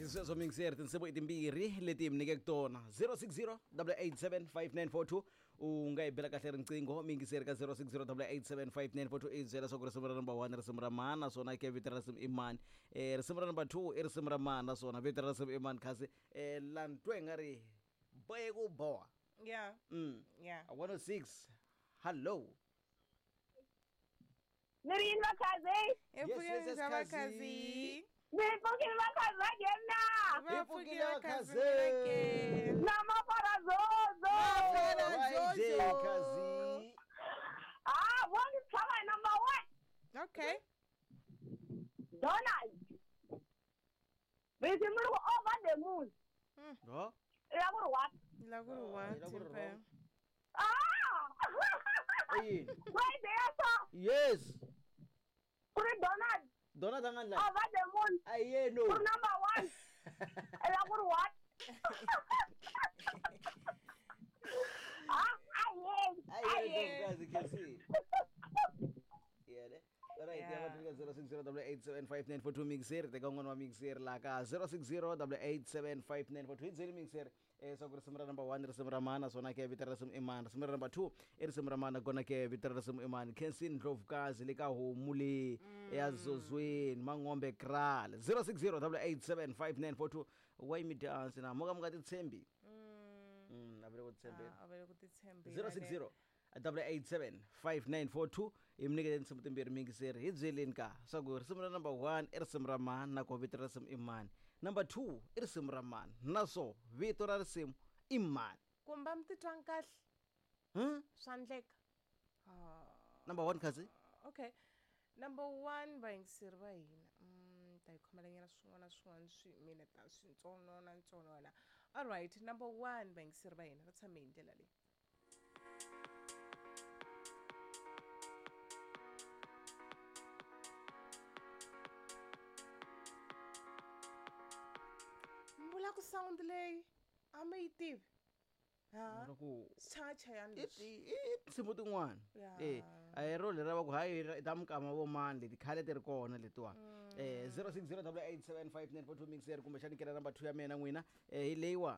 Xisweswo mixer tinsimu i timbirhi leti hi mi nyikeke tona 060 887 5942 u nga yi bela kahle riqingho miyingiseri ka 060 887 5942 i byela swa ku risimu ra number 1 risimu ra mani naswona ke vito ra risimu i mani risimu ra number 2 i risimu ra mani naswona vito ra risimu i mani kasi lani twe nga ri bohe ku boha. Yeah. Yeah. 106 hello. Ni ri yini vakhazi? Hi Yes, yes, yes, pfukile Khazi. vakhazi. Ni pfukile vakhazi va nghena. Hi pfukile vakhazi vakhazi. ke. Na mafara zozo. Mafara Right Jojo. there, Khazi. Ah, vo ni tshama hi number 1. Okay. Donald. Risimu ri ku over the moon. Ho? I la ku ri what? La ku ri Ah, what? yi la ku ri Impela. wrong. Ah! I yini? Wait, there so. Yes. Ku ri Donald Donald a nga ndla. over the moon. A yeno. Ku ri number 1. I la ku ri what? Ah, a yeni. A A yeno yeni. Khazi Khazi. Yeah, ne? Alright, Yeah. yeah. va 060 887 mixer teka un'wana wa mixer laha ka 060 887 hi byeli mixer swa ku risimu ra number 1 risimu ra mani naswona ke vito ra risimu i mani risimu ra number 2 i risimu ra mani nakona ke vito ra risimu i mani Khensin Ndlovukazi le ka homu le ya zozweni Mangombe Kraal 060 887 wa yimi dance na mo ka mi nga titshembi a vele ku titshembeni Ah, a va le ku titshembeni. 060 887 5942 hi mi nyikete tinsimu timbirhi mingiseri hi byeleni ka swa ku risimu ra number 1 i risimu ra mani na ko vito ra risimu i mani number 2 i risimu ra mani naswo vito ra risimu i mani Kumbe a mi titwangi kahle. hmm? Swa endleka. Ah. Number 1 kasi Okay. Number 1 vayingiseri va hina. Ta hi khomelanyana swin'wana na swin'wana swi mina ta swintsonona ntsonona. All right, number 1 vayingiseri va hina va tshame hi ndlela leyi. Mi vula ku sound leyi a mi yi tivi. Ha? ku Swichayachayani i leswi. i tinsimu tin'wana Ya. e a hi ro lera va ku hayi i ta mukama vo mani leti khale ti ri kona letiwani 060 887 5942 mixer kumbexani kela number 2 ya mina n'wina hi leyiwa.